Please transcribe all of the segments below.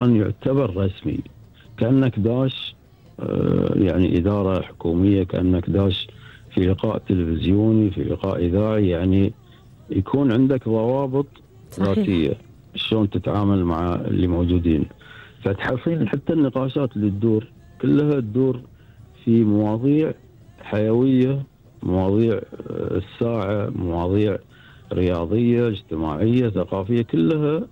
يعتبر رسمي، كأنك داش يعني إدارة حكومية، كأنك داش في لقاء تلفزيوني، في لقاء إذاعي، يعني يكون عندك ضوابط صحيح. ذاتية شلون تتعامل مع اللي موجودين. فتحصيل حتى النقاشات اللي تدور كلها تدور في مواضيع حيوية، مواضيع الساعة، مواضيع رياضية اجتماعية ثقافية، كلها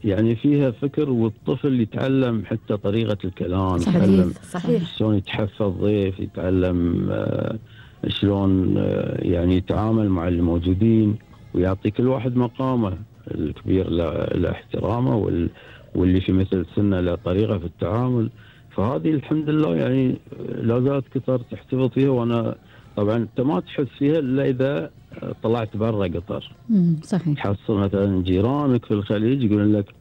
يعني فيها فكر، والطفل يتعلم حتى طريقة الكلام، يتعلم صحيح. شلون يتحفى الضيف، يتعلم شلون يعني يتعامل مع الموجودين، ويعطي كل واحد مقامه، الكبير له احترامه، واللي في مثل سنه له طريقة في التعامل. فهذه الحمد لله يعني لا زالت قطر تحتفظ فيها. وانا طبعا انت ما تحس فيها الا اذا طلعت برا قطر. صحيح. تحصل مثلا جيرانك في الخليج يقولون لك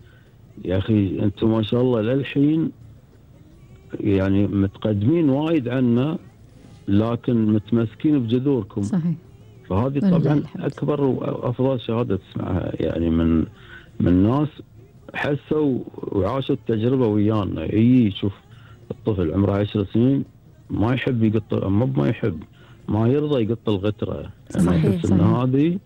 يا اخي انتم ما شاء الله للحين يعني متقدمين وايد عنا، لكن متمسكين بجذوركم. صحيح. فهذه طبعا اكبر وافضل شهاده تسمعها يعني من ناس حسوا وعاشوا التجربه ويانا. شوف الطفل عمره 10 سنين ما يحب يقط، ما يحب، ما يرضى يقط الغتره. صحيح. يحس ان هذه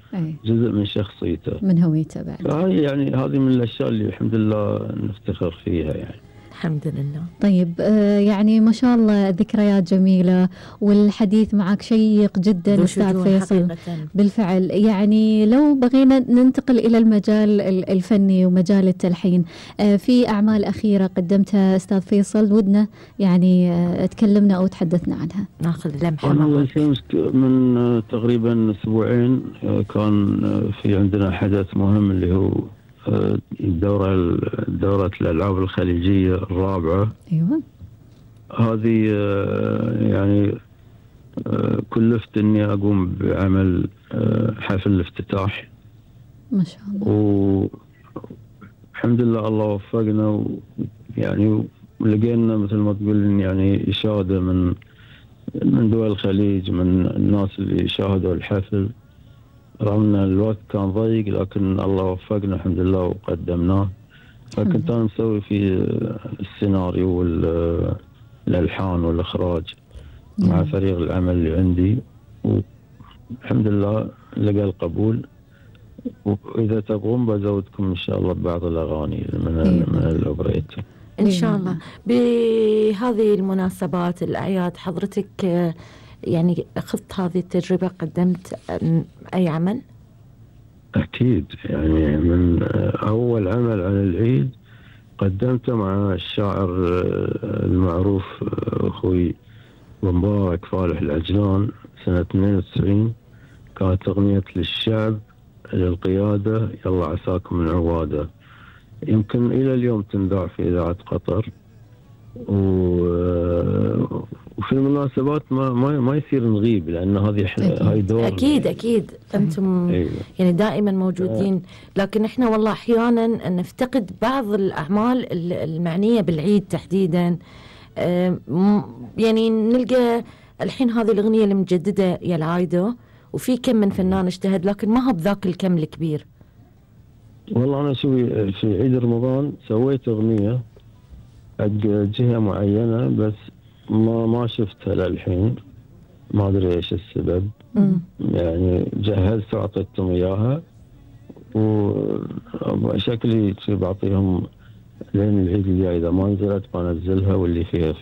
جزء من شخصيته، من هويته بعد. فهي يعني هذه من الاشياء اللي الحمد لله نفتخر فيها يعني. الحمد لله. طيب يعني ما شاء الله ذكريات جميلة، والحديث معك شيق جدا أستاذ فيصل. بالفعل يعني لو بغينا ننتقل إلى المجال الفني ومجال التلحين، في أعمال أخيرة قدمتها أستاذ فيصل ودنا يعني تكلمنا أو تحدثنا عنها. ناخذ لمحة. أنا من تقريبا أسبوعين كان في عندنا حدث مهم اللي هو دورة الألعاب الخليجية الرابعة. أيوة. هذه يعني كلفت إني أقوم بعمل حفل الافتتاح. ما شاء الله. والحمد لله الله وفقنا، يعني ولقينا مثل ما تقول يعني إشادة من دول الخليج، من الناس اللي شاهدوا الحفل. رغم ان الوقت كان ضيق لكن الله وفقنا الحمد لله وقدمناه. فكنت انا مسوي في السيناريو والالحان والاخراج مع فريق العمل اللي عندي، والحمد لله لقى القبول. واذا تبغون بزودكم ان شاء الله ببعض الاغاني من الاوبريت ان شاء الله. بهذه المناسبات الاعياد حضرتك يعني أخذت هذه التجربة، قدمت أي عمل؟ أكيد، يعني من أول عمل عن العيد قدمته مع الشاعر المعروف أخوي ومبارك فالح العجلان سنة 92. كانت أغنية للشعب للقيادة يلا عساكم من عوادة. يمكن إلى اليوم تنذاع في إذاعة قطر. وفي المناسبات ما يصير نغيب، لأن هاي دور. أكيد أنتم يعني دائما موجودين. لكن إحنا والله أحيانا نفتقد بعض الأعمال المعنية بالعيد تحديدا. يعني نلقى الحين هذه الأغنية المجددة يا العايدة، وفي كم من فنان اجتهد لكن ما هو بذاك الكم الكبير. والله أنا في عيد رمضان سويت أغنية حق جهة معينة، بس ما شفتها للحين، ما أدري إيش السبب. يعني جهزت وأعطيتهم إياها، وشكلي بعطيهم لين العيد الجاي. إذا ما نزلت بنزلها واللي فيها.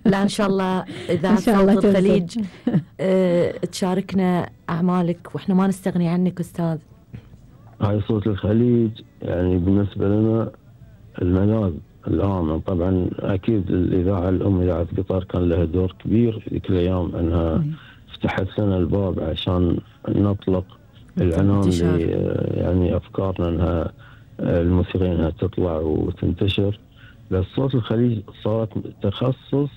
لا إن شاء الله إذا صوت الخليج تشاركنا أعمالك، وإحنا ما نستغني عنك أستاذ. هاي صوت الخليج يعني بالنسبة لنا الملاذ الآن. طبعا أكيد الإذاعة الأم إذاعة قطر كان لها دور كبير في ذيك الأيام، أنها فتحت لنا الباب عشان نطلق العنان يعني أفكارنا أنها الموسيقى أنها تطلع وتنتشر. بس صوت الخليج صارت تخصص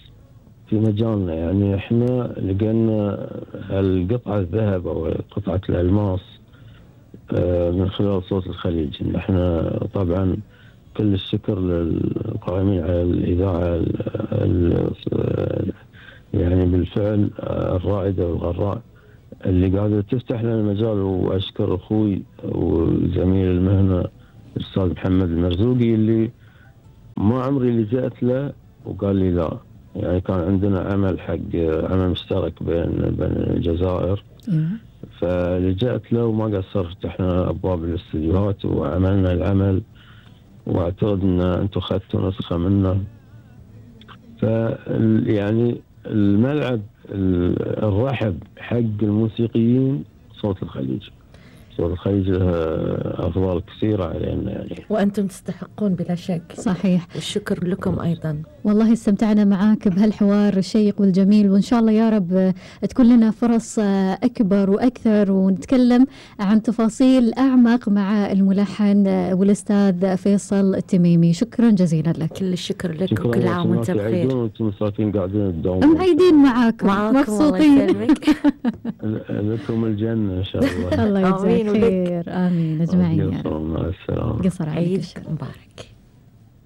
في مجالنا. يعني إحنا لقينا القطعة الذهب أو قطعة الألماس من خلال صوت الخليج. إن إحنا طبعا كل الشكر للقائمين على الإذاعة يعني بالفعل الرائدة والغراء اللي قاعدة تفتح لنا المجال. وأشكر أخوي وزميل المهنة الأستاذ محمد المرزوقي اللي ما عمري لجأت له وقال لي لا. يعني كان عندنا عمل مشترك بين الجزائر، فلجأت له وما قصر، فتحنا أبواب الاستديوهات وعملنا العمل، واعتقد أن أنتم أخذتوا نسخة منه. يعني الملعب الرحب حق الموسيقيين صوت الخليج. صوت الخليج له أفضال كثيرة علينا يعني، وأنتم تستحقون بلا شك. صحيح، والشكر لكم أيضا. والله استمتعنا معاك بهالحوار الشيق والجميل، وإن شاء الله يا رب تكون لنا فرص أكبر وأكثر ونتكلم عن تفاصيل أعمق مع الملحن والأستاذ فيصل التميمي. شكرا جزيلا لك. كل الشكر لك، وكل عام وأنت بخير. وأنتم مساكين قاعدين تداومون. معيدين معاكم مبسوطين. لكم الجنة إن شاء الله. الله يجزاك خير. آمين أجمعين. مع السلامة. قصر عليك. عيد مبارك.